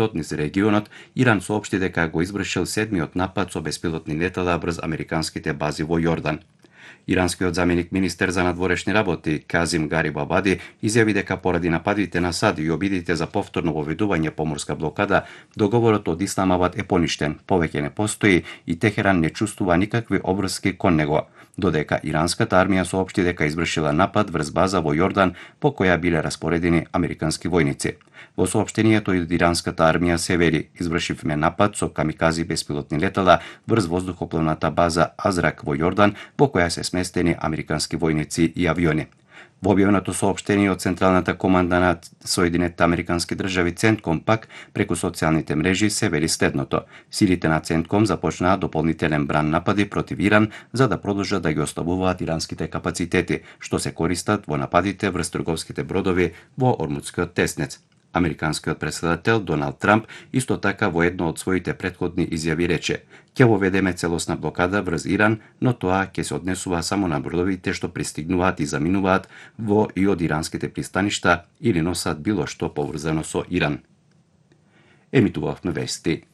конфликтот низ регионот, Иран соопшти дека го извршил седмиот напад со беспилотни летала врз американските бази во Јордан. Иранскиот заменик министер за надворешни работи Казим Гарибабади изјави дека поради нападите на САД и обидите за повторно воведување поморска блокада, договорот од Исламабад е поништен, повеќе не постои и Техеран не чувствува никакви обврски кон него, додека иранската армија соопшти дека извршила напад врз база во Јордан по која биле распоредени американски војници. Во соопштението од иранската армија се вели: извршивме напад со камикази беспилотни летала врз воздухопловната база Азрак во Јордан, во која се сместени американски војници и авиони. Во објавеното соопштение од Централната команда на Соединетите американски држави Центком пак преку социјалните мрежи се вели следното: силите на Центком започнаа дополнителен бран напади против Иран за да продолжат да ги ослабуваат иранските капацитети, што се користат во нападите врз трговските бродови во Ормудскиот теснец. Американскиот претседател Доналд Трамп исто така во едно од своите претходни изјави рече: ќе воведеме целосна блокада врз Иран, но тоа ќе се однесува само на бродовите што пристигнуваат и заминуваат во и од иранските пристаништа или носат било што поврзано со Иран. Емитувавме вести